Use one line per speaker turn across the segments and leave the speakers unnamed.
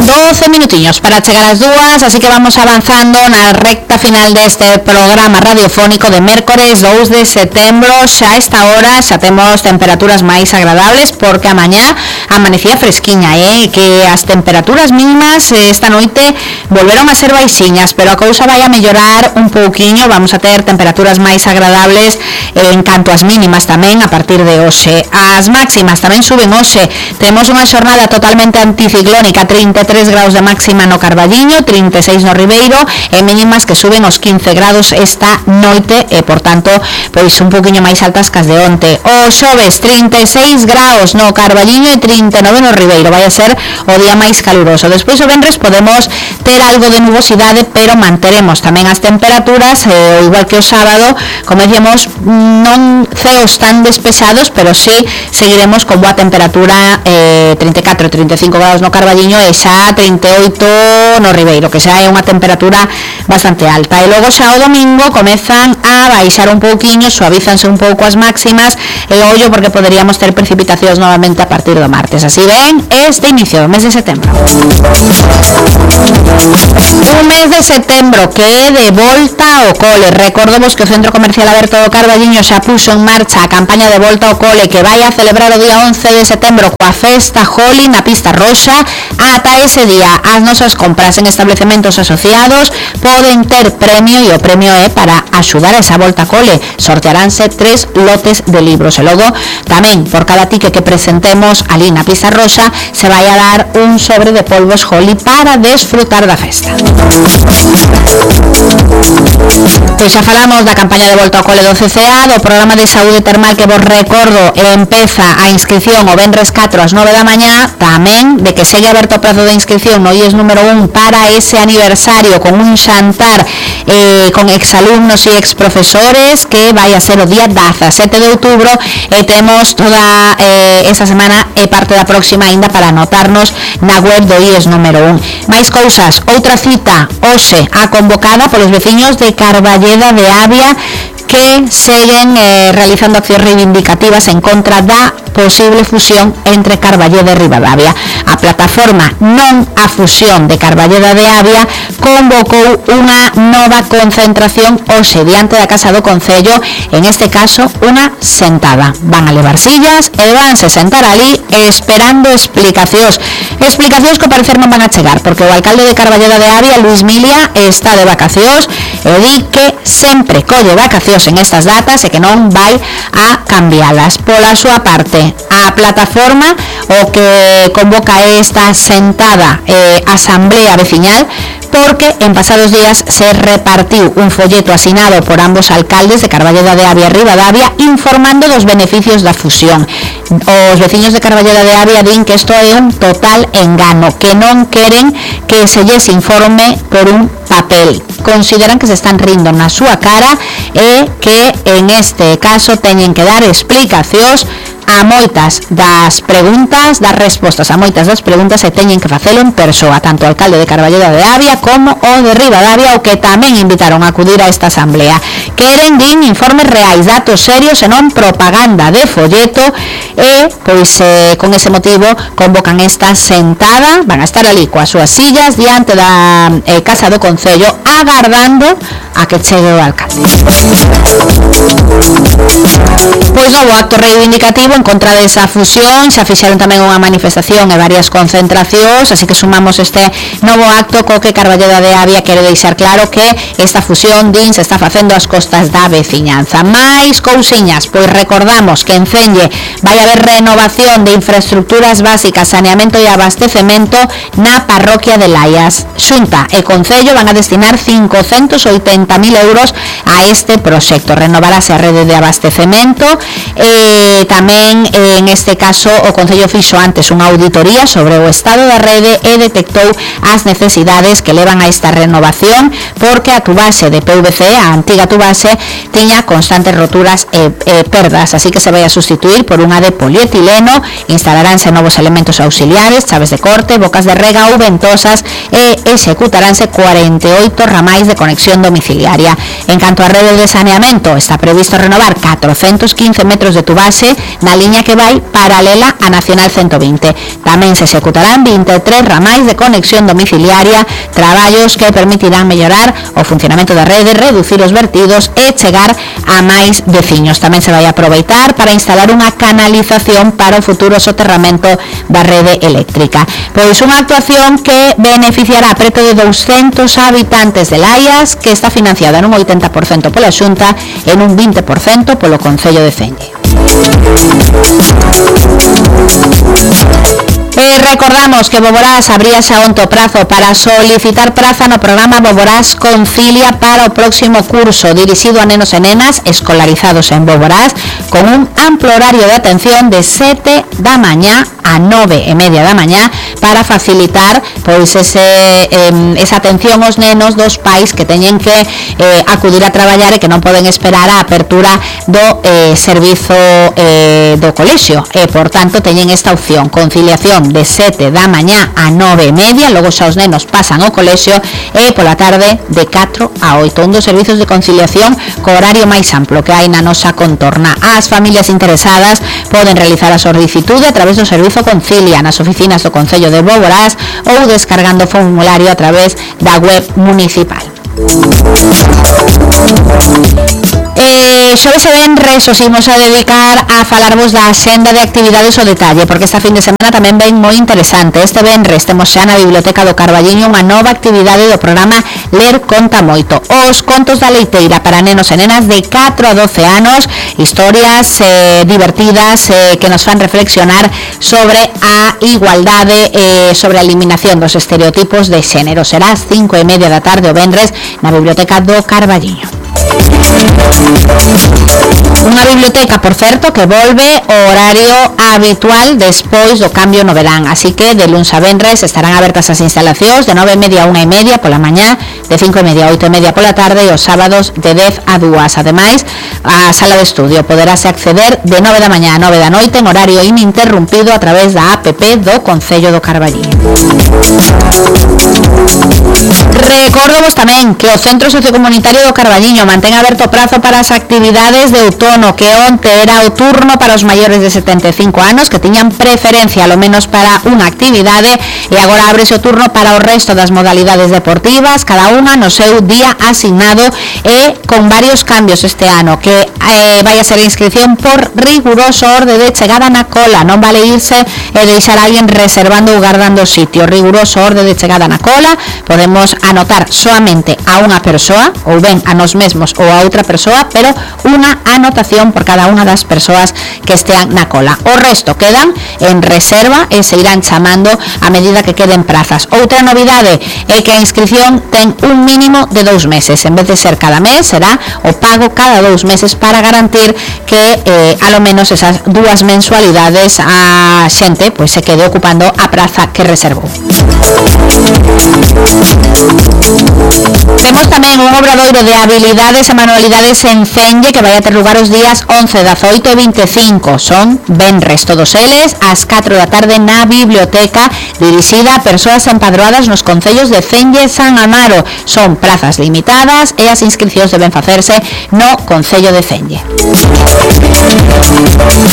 12 minutinhos para chegar ás 2, así que vamos avanzando na recta final deste programa radiofónico de mércores 2 de setembro. Xa a esta hora xa temos temperaturas máis agradables porque a mañá amanecía fresquiña, que as temperaturas mínimas esta noite volveron a ser baixiñas, pero a cousa vai a mellorar un pouquiño. Vamos a ter temperaturas máis agradables en canto ás mínimas tamén a partir de hoxe. As máximas tamén suben hoxe. Temos unha xornada totalmente anticiclónica, 33 graus de máxima no Carballiño, 36 no Ribeiro, e mínimas que suben os 15 grados esta noite, e por tanto, pois un poquinho máis altas que as de onte. O xoves, 36 graus no Carballiño e 39 no Ribeiro, vai a ser o día máis caluroso. Despois o venres podemos ter algo de nubosidade, pero manteremos tamén as temperaturas, igual que o sábado, como decíamos, non ceos tan despejados, pero sí seguiremos con boa temperatura, 34-35 graus no Carballiño e xa 38 no Ribeiro, que xa é unha temperatura bastante alta. E logo xa o domingo comezan a baixar un pouquiño, suavizanse un pouco as máximas, e ollo porque poderíamos ter precipitacións novamente a partir do martes. Así ven este inicio do mes de setembro. Un mes de setembro que é de volta ao cole. Recordemos que o Centro Comercial Aberto do Carballiño xa puxo en marcha a campaña de volta ao cole que vai a celebrar o día 11 de setembro coa festa Holi na Pista Roxa. Ata ese día as nosas compras en establecementos asociados poden ter premio, e o premio é para axudar a esa volta ao cole. Sortearánse 3 lotes de libros, e logo tamén por cada tique que presentemos ali na Pista Roxa se vai a dar un sobre de polvos Holi para desfrutar da festa. Pois xa falamos da campaña de volta ao cole do CCA, do programa de saúde termal que vos recordo empeza a inscripción o venres 4 ás 9 da mañá, tamén de que segue aberto o prazo de inscripción no IES número 1 para ese aniversario con un xantar con exalumnos e exprofesores que vai a ser o día 17 de outubro, e temos toda esa semana e parte da próxima ainda para anotarnos na web do IES número 1. Máis cousas, outra cita hoxe a convocada polos veciños de Carballeda de Avia que seguen realizando accións reivindicativas en contra da posible fusión entre Carballeda e Ribadavia. A plataforma Non a Fusión de Carballeda de Avia convocou unha nova concentración hoxe diante da Casa do Concello, en este caso unha sentada. Van a levar sillas e vanse sentar ali esperando explicacións que ao parecer non van a chegar, porque o alcalde de Carballeda de Avia, Luis Milia, está de vacacións e di que sempre colle vacacións en estas datas e que non vai a cambialas. Pola súa parte, a plataforma o que convoca esta sentada asamblea veciñal, porque en pasados días se repartiu un folleto asinado por ambos alcaldes de Carballeda de Avia e Ribadavia informando dos beneficios da fusión. Os veciños de Carballeda de Avia din que isto é un total engano, que non queren que se lles informe por un papel. Consideran que se están rindo na súa cara e que en este caso teñen que dar explicacións a moitas das preguntas, das respostas a moitas das preguntas, e teñen que facelo en persoa, tanto o alcalde de Carballeda de Avia como o de Ribadavia, o que tamén invitaron a acudir a esta asamblea. Queren, din, informes reais, datos serios e non propaganda de folleto, e pois con ese motivo convocan esta sentada. Van a estar ali coas súas sillas diante da Casa do Concello agardando a que chegue o alcalde. Pois novo acto reivindicativo en contra desa fusión, xa fixeron tamén unha manifestación e varias concentracións, así que sumamos este novo acto co que Carballeda de Avia quere deixar claro que esta fusión, din, se está facendo ás costas da veciñanza. Mais cousiñas, pois recordamos que en Celle vai haber renovación de infraestructuras básicas, saneamento e abastecemento na parroquia de Laias. Xunta e Concello van a destinar 580.000 euros a este proxecto. Renovarase a rede de abastecemento, tamén en este caso o Concello fixo antes unha auditoría sobre o estado da rede e detectou as necesidades que levan a esta renovación, porque a tubase de PVC, a antiga tubase, tiña constantes roturas e perdas, así que se vai a sustituir por unha de polietileno. Instalaránse novos elementos auxiliares, chaves de corte, bocas de rega ou ventosas, e executaránse 48 ramais de conexión domiciliaria. domiciliaria. En canto a redes de saneamento, está previsto renovar 415 metros de tubase na liña que vai paralela a Nacional 120. Tamén se executarán 23 ramais de conexión domiciliaria, traballos que permitirán mellorar o funcionamento da rede, reducir os vertidos e chegar a máis veciños. Tamén se vai aproveitar para instalar unha canalización para o futuro soterramento da rede eléctrica. Pois unha actuación que beneficiará a preto de 200 habitantes de Laias, que está financiada nun 80% pola Xunta e nun 20% polo Concello de Celle. Recordamos que Boborás abría xa onte o prazo para solicitar praza no programa Boborás Concilia para o próximo curso, dirixido a nenos e nenas escolarizados en Boborás, con un amplo horario de atención de 7 da mañá a 9:30 da mañá, para facilitar pois esa atención aos nenos dos pais que teñen que acudir a traballar e que non poden esperar a apertura do servizo do colexio, e por tanto teñen esta opción, conciliación de 7 da mañá a 9:30, logo xa os nenos pasan ao colexio, e pola tarde de 4 a 8, un dos servizos de conciliación co horario máis amplo que hai na nosa contorna. As familias interesadas poden realizar a solicitude a través do servizo Concilia nas oficinas do Concello de Boborás ou descargando o formulario a través da web municipal. Xoves e venres os imos a dedicar a falarvos da axenda de actividades ao detalle, porque esta fin de semana tamén ven moi interesante. Este venres temos xa na Biblioteca do Carballiño unha nova actividade do programa Ler Conta Moito. Os contos da leiteira para nenos e nenas de 4 a 12 anos, historias divertidas que nos fan reflexionar sobre a igualdade, sobre a eliminación dos estereotipos de xénero. Será ás 5:30 da tarde o venres na Biblioteca do Carballiño. Unha biblioteca, por certo, que volve o horario habitual despois do cambio no verán, así que de luns a venres estarán abertas as instalacións de 9:30 a 1:30 pola mañá, de 5:30 a 8:30 pola tarde e os sábados de 10 a 2. Ademais, a sala de estudio poderase acceder de 9 da mañá a 9 da noite en horario ininterrumpido a través da app do Concello do Carballiño. Recordamos tamén que o Centro Sociocomunitario do Carballiño mantén aberto o prazo para as actividades de outono, que onte era o turno para os maiores de 75 anos que tiñan preferencia ao menos para unha actividade, e agora ábrese o turno para o resto das modalidades deportivas, cada unha no seu día asignado, e con varios cambios este ano, que vai a ser a inscripción por riguroso orde de chegada na cola, non vale irse e deixar a alguén reservando ou guardando o sitio. Riguroso orde de chegada na cola, podemos anotar solamente a unha persoa, ou ben a nós mesmos ou a outra persoa, pero unha anotación por cada unha das persoas que estean na cola. O resto quedan en reserva e se irán chamando a medida que queden prazas. Outra novidade é que a inscripción ten un mínimo de 2 meses, en vez de ser cada mes, será o pago cada 2 meses para garantir que a lo menos esas 2 mensualidades a xente pois se quede ocupando a praza que reservou. Temos tamén un obradoiro de habilidades e manualidades en Celle que vai a ter lugar os días 11, 18 e 25. Son venres todos eles ás 4 da tarde na biblioteca, dirixida a persoas empadroadas nos concellos de Celle e San Amaro. Son prazas limitadas e as inscripcións deben facerse no Concello de Celle.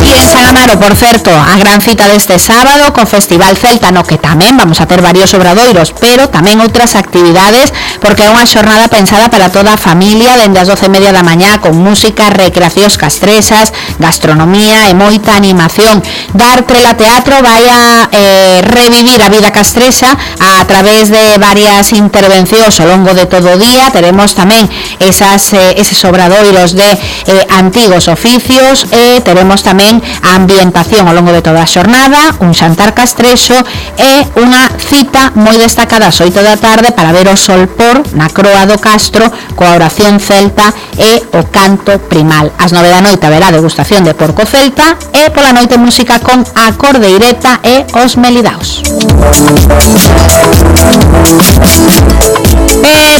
E en San Amaro, por certo, a gran cita deste sábado co Festival Celta, no que tamén vamos a ter varios obradoiros, pero tamén outras actividades, porque é unha xornada pensada para toda a familia, dende as 12:30 da mañá, con música, recreacións castresas, gastronomía e moita animación. Dar Trela Teatro vai a revivir a vida castresa a través de varias intervencións ao longo de todo o día. Teremos tamén eses obradoiros de antigos oficios, e teremos tamén a ambientación ao longo de toda a xornada, un xantar castrexo e unha cita moi destacada ás 8 da tarde para ver o solpor na Croa do Castro coa oración celta e o canto primal. Ás 9 da noite haberá degustación de porco celta e pola noite música con a cordeireta e os melidaos.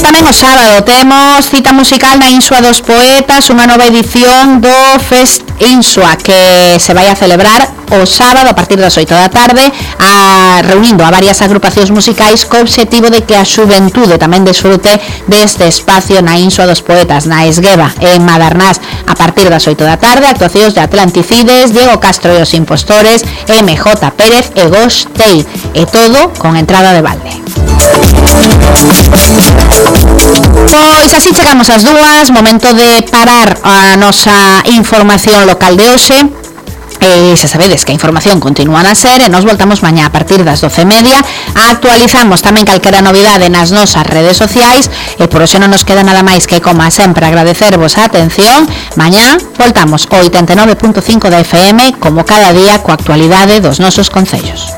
Tamén o sábado temos cita musical na Insua dos Poetas, unha nova edición do Fest Insua que se vai a celebrar o sábado a partir das 8 da tarde, reunindo a varias agrupacións musicais co obxectivo de que a xuventude tamén desfrute deste espacio na Insua dos Poetas, na Esgueva, en Madernás, a partir das 8 da tarde, actuacións de Atlanticides, Diego Castro e os Impostores, MJ Pérez e Ghost Tail, e todo con entrada de balde. Pois así chegamos ás 2, momento de parar a nosa información local de hoxe. Se sabedes que a información continúa a ser e nos voltamos mañá a partir das 12:30. Actualizamos tamén calquera novidade nas nosas redes sociais e por hoxe non nos queda nada máis que, como sempre, agradecervos a atención. Mañá voltamos o 89.5 da FM como cada día coa actualidade dos nosos concellos.